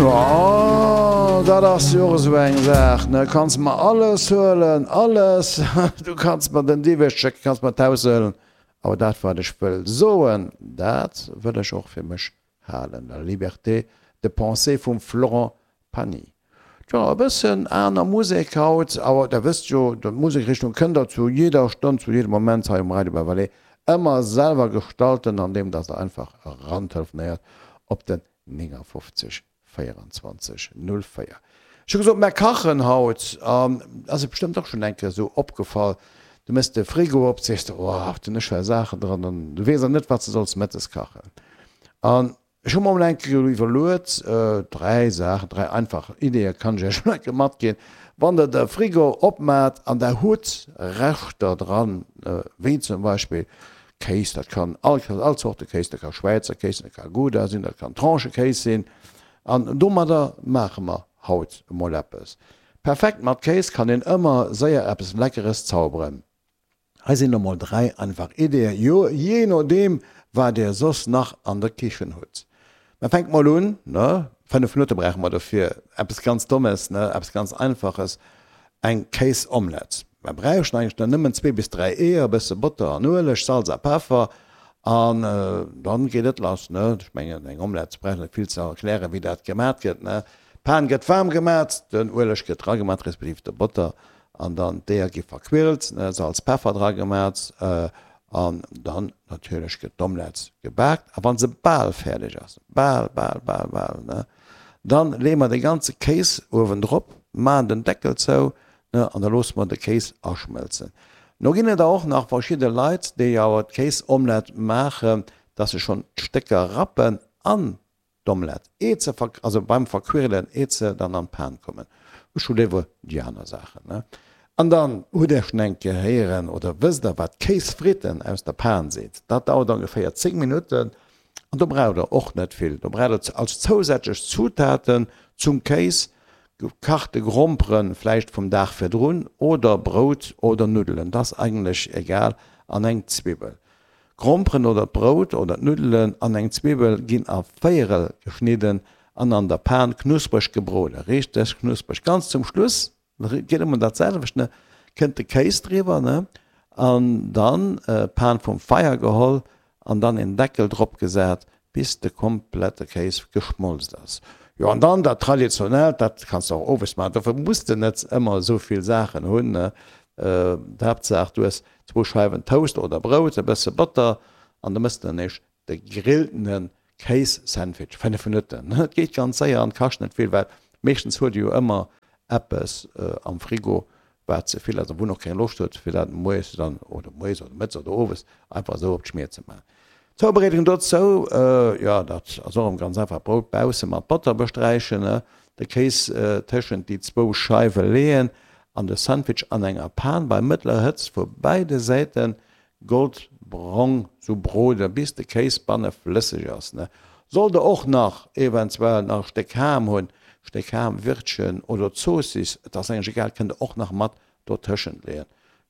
Oh, dat ass jo och esou eng Saach, ne? Kanns mer alles huelen, alles! Du kanns mer den Diwweg schécken, kanns mer d'Haus huelen, awer dat, wat ech wëll soen, dat wëll ech och fir mech halen. La liberté de penser vum Florent Pagny. Tjo, e bëssen aner Musek haut, awer der wësst jo, d'Musekrichtung kënnt der zu jidder Stonn, zu jiddem Moment hei um Radio Bas-Valais ëmmer selwer gestalten, andeem dass der einfach erantelefonéiert op den 59 24 04. Ech hu gesot, mär kachen haut, an ass et bestëmmt och schonn eng Kéier esou opgefall, du méchs de Frigo op, sees de, oh, haut hunn ech well Saachen dran, an du weess awer net, wat s de solls mëttes kachen. An ech hu mer emol eng Kéier iwwerluet, dräi Saachen, dräi einfach Ideeë kann ech iech emol eng Kéier matginn, Wann der de Frigo opmaacht an der hutt Reschter dran, wéi zum Beispill Kéis, dat kann all all Zorte Kéis, dat ka Schwäizer Kéis sinn, dat ka Gouda sinn, dat kann Tranchekéis sinn. An domadder maache mer haut emol eppes. Perfekt mat Kéis kann een ëmmer séier eppes Leckeres zauberen. Hei sinn emol 3 einfach Ideeën, jo jee nodeem wat dir soss nach an der Kichen hutt. Mä fänkt mol un, ne, 5 Minutte brauche mer dofir, eppes ganz Dommes, ne, eppes ganz Einfaches, eng Kéisomelette. Mer bräuchten eigentlech dann nëmmen zwee bis 3 Eeër, e bësse Botter an Ueleg, Salz a Peffer an dann geet et lass, ne. Ech mengen eng Omelette brauch net vill ze erklären wéi dat gemat gëtt, ne. D'Pan gëtt waarm gemat, den Ueleg gëtt dragemat, respektiv de Botter an dann d'Eeër gi verquirlt, ne, Salz, Peffer dragemat An dann natierlech gëtt d'Omelette gebaakt a wann se bal fäerdeg ass, bal, bal, bal, bal, ne, dann leeë mer de ganze Kéis uewendrop, maachen den Deckel zou, ne, an da loosse mer de Kéis aschmëlzen. No ginn et der och nach verschidde Leit, déi awer d'Kéisomelette maachen, dass se schonn d'Stécker rappen an D'Omelette, eet se verk, also beim Verquirlen, eet se dann an d'Pan kommen. Ech hu léiwer déi aner Saachen, ne? An dann hutt der schon eng Kéier héieren oder wësst der wat Kéisfritten aus der Pan sinn. Dat dauert ongeféier 10 Minutten an do braucht der och net vill. Do braucht der als zousätzlech Zutaten zum Kéis gekachte Gromperen, vläicht vum Dag virdrun, oder Brout oder Nuddelen, dat ass eigentlech egal, an eng Zwibbel. D'Gromperen oder d'Brout oder d'Nuddelen an eng Zwiwwel ginn a Véierel geschnidden an an der Pan knuspreg gebroden, richteg knuspreg. Ganz zum Schluss, geet ëmmer dat selwecht, ne, kënnt de Kéis driwwer, ne, an dann d'Pan vum Feier geholl an dann een Deckel drop gesat, bis de komplette Kéis geschmolzt ass. Jo, an dann dat traditionellt, dat kanns de och owes maachen, dofir muss de net ëmmer esou vill Saachen hunn, ne, d'Haaptsaach du hues zwou Scheiwen Toast oder Brout, e bësse Botter an da mëss de dann eescht de gegrilltene Kéis-Sandwich, 5 Minutten, et geet ganz séier an kascht net vill, well meeschtens huet e jo ëmmer eppes am Frigo wat ze vill ass a wou en och keng Loscht huet fir dat moies dann oder moies oder mëttes oder owes einfach esou op d'Schmier ze maachen. D'Zoubereedung dozou, jo dat ass och erëm ganz einfach, Brout bausse mat Botter besträichen, de Kéis tëschent déi zwou Scheiwe leeën an de Sandwich an enger Pan bei mëttlerer Hëtzt vu beide Säite goldbrong sou brode bis de Kéis banne flësseg ass. Sollt der och nach eventuell nach e Stéck Ham hunn, Stéck Ham, Wirtchen oder Zoossiss, et ass eigentlech egal, kënnt der och nach mat dotëschent leeën.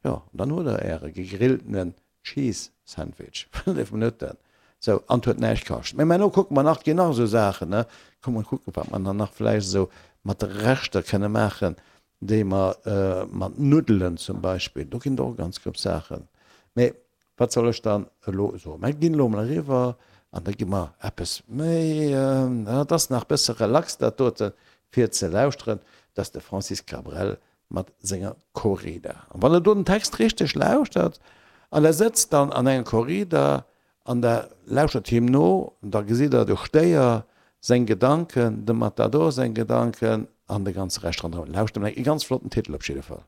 Jo, an dann hutt der äre gegrilltenen Cheese Sandwich, 5 Minutten, sou, an 't huet näischt kascht. Mee mä elo kucke mer nach, 't ginn nach esou Saachen, ne, komm mol kucken, wat mer dann nach vläicht esou mat de Reschter kënne maachen, déi mer mat Nuddelen zum Beispill, do ginn et och ganz gutt Saachen. Mee wat soll ech dann elo soen? Mer ginn elo emol eriwwer an da gi mer eppes méi, dat ass nach e bësse relax dat doten, fir ze lauschteren, dat ass de Francis Cabrel mat senger Corrida. An wann der do den Text richteg lauschtert an der sëtzt dann an enger Corrida an der lauschtert him no, da gesitt der de Stéier seng Gedanken, dem Matador seng Gedanken an de ganze Rescht ronderëm. Lauschtert emol, e ganz flotten Titel op jidde Fall.